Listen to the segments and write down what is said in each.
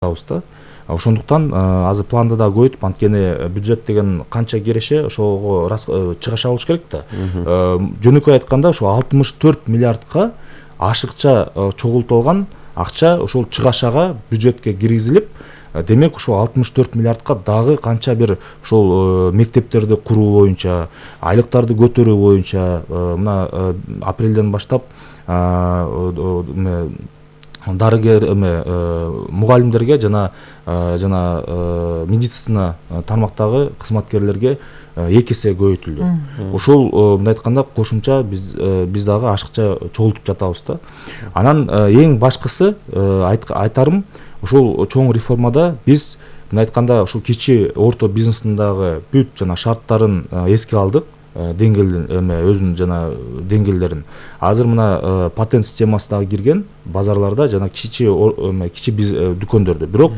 да. Ошондуктан азыр планды да көбөйтүп, анткени бюджет деген канча кереше ошого чыгаш алыш керек да. Жөнөкөй айтканда ошо 64 миллиардка ашыкча чогултулган акча ошол чыгашага бюджетке киргизилип, демек ошо 64 миллиардка дагы канча бир ошол мектептерди куруу боюнча, айлыктарды көтөрүү боюнча мына апрелден баштап дарыгер мугалимдерге жана медицина тармактагы кызматкерлерге 2 эсе көбөйтүлдү. Ошол мындай айтканда кошумча биз дагы ашыкча чогултуп жатабыз да. Анан эң башкысы айтарым, ошол чоң реформада биз мындай айтканда ошол кичи орто бизнестин дагы бүт жана шарттарын эске алдык. Өзүнүн жана деңгээлдерин. Азыр мына патент системасы дагы кирген базарларда жана кичи дүкөндөрдө. Бирок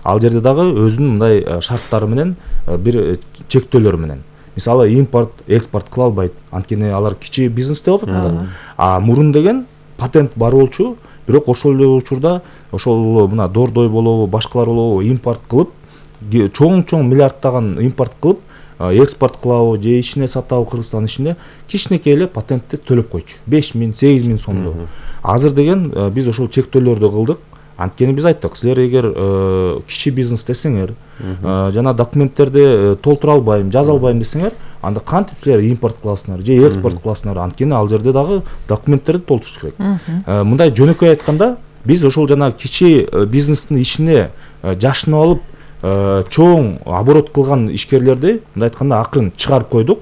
ал жерде дагы өзүнүн мындай шарттары менен, бир чектөөлөрү менен. Мисалы, импорт, экспорт кыла албайт. Анткени алар кичи бизнес деп атат да. А мурун деген патент бар болчу, бирок ошол эле учурда ошол мына Дордой болобу, башкалар болобу импорт кылып, чоң миллиардтаган импорт кылып, экспорт кылабы же ичине сатабы Кыргызстан ичинде кичинекей эле патентти төлөп койчу. 5.000-8.000 сомдо. Азыр деген биз ошол чектөөлөрдү кылдык. Анткени биз айттык, силер эгер кичи бизнес десеңер, жана документтерди толтура албайм, жаза албайм десеңер, анда кантип силер импорт кыласыңар же экспорт кыласыңар? Анткени ал жерде дагы документтерди толтуруш керек. Мындай жөнөкөй айтканда, биз ошол жана кичи бизнестин ичине жашынып алып, чоң оборот кылган ишкерлерди мындай айтканда акырын чыгарып койдук.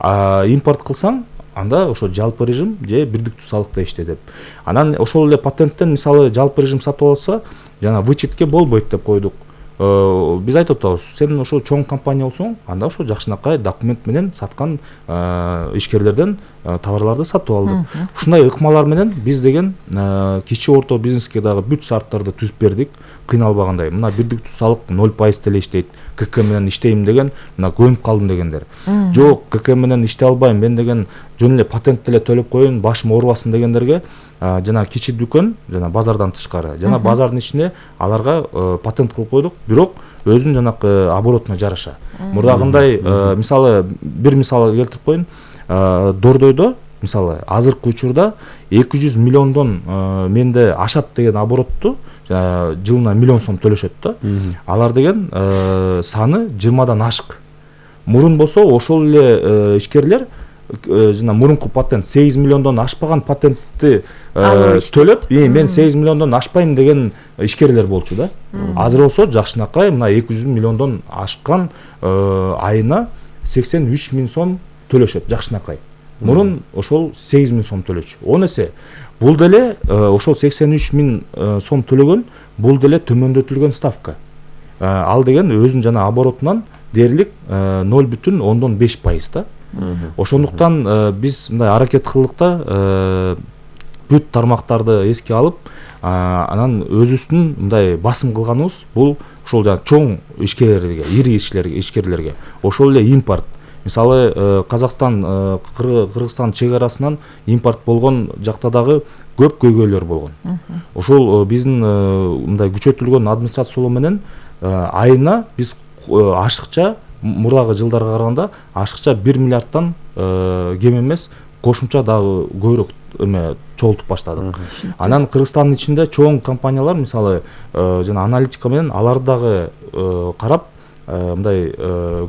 Импорт кылсаң, анда ошо жалпы режим же бирдиктүү салыкта иште деп. Анан ошол эле патенттен мисалы жалпы режим сатып алса, жана вычетке болбойт деп койдук. Биз айтып атабыз, сен ошо чоң компания болсоң, анда ошо жакшынакай документ менен саткан ишкерлерден товарларды сатып алдык. Ушундай ыкмалар менен биз деген кичи орто бизнеске дагы бүт шарттарды түзүп бердик, кыйналбагандай. Мына бирдиктүү салык 0% деле иштейт. КК менен иштейм деген, мына көнүп калдым дегендер. Жок, КК менен иштей албайм, мен деген жөн эле патент деле төлөп коеюн, башым оорубасын дегендерге жана кичи дүкөн, жана базардан тышкары, жана базардын ичинде аларга патент кылып койдук, бирок өзүнүн жанакы оборотуна жараша. Мурдагындай мисалы, бир мисал келтирип коеюн. Дордойдо мисалы азыркы учурда 200 миллиондон менде ашат деген оборотту жылына 1 миллион сом төлөшөт да. Алар деген саны 20дан ашык. Мурун болсо ошол эле ишкерлер жана мурунку патент 8 миллиондон ашпаган патентти төлөп, мен 8 миллиондон ашпайм деген ишкерлер болчу да. Азыр болсо жакшынакай мына 200 миллиондон ашкан айына 83 миң сом төлөшөт жакшынакай. Мурун ошол 8 миң сом төлөчү. 10 эсе. Бул деле ошол 83 миң сом төлөгөн, бул деле төмөндөтүлгөн ставка. Ал деген өзүнүн жана оборотунан дээрлик 0,5% да. Ошондуктан биз мындай аракет кылдык да, бүт тармактарды эске алып, анан өзүбүздүн мындай басым кылганыбыз бул ошол жана чоң ишкерлерге, ири ишкерлерге, ошол эле импорт. Мисалы, Кыргызстан чек арасынан импорт болгон жакта дагы көп көйгөйлөр болгон. Ошол биздин мындай күчөтүлгөн администрациялоо менен айына биз ашыкча, мурдагы жылдарга караганда ашыкча 1 миллиардтан кем эмес, кошумча дагы көбүрөөк чогултуп баштадык. Анан Кыргызстандын ичинде чоң компаниялар, мисалы, жана аналитика менен алар дагы карап, мындай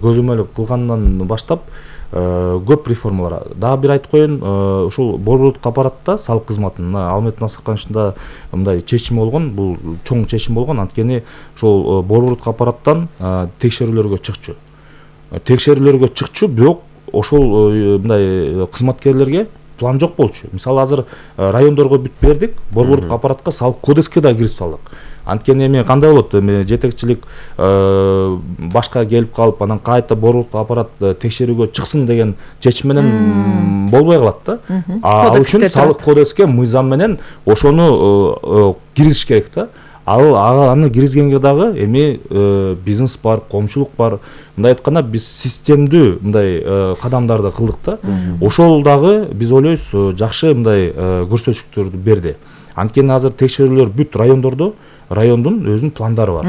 көзөмөл кылгандан баштап көп реформалар. Дагы бир айтып коеюн, ошол борбордук аппаратта салык кызматынын Алмет Насыркановичтин мындай чечими болгон, бул чоң чечим болгон, анткени ошол борбордук аппараттан текшерүүлөргө чыкчу, бирок ошол мындай кызматкерлерге план жок болчу. Мисалы, азыр райондорго бүт бердик, борбордук аппаратка салык кодекске да киргизип салдык. Анткени эми кандай болот? Жетекчилик башка келип калып, анан кайта борбордук аппарат текшерүүгө чыксын деген чечим менен болбой калат да. Ал үчүн салык кодекске мыйзам менен ошону киргизиш керек да. Аны киргизгенге дагы эми бизнес бар, коомчулук бар. Мындай айтканда биз системдүү мындай кадамдарды кылдык да. Ошол дагы биз ойлойбуз жакшы мындай көрсөтүктөрдү берди. Анткени азыр текшерүүлөр бүт райондордо райондун өзүнүн пландары бар.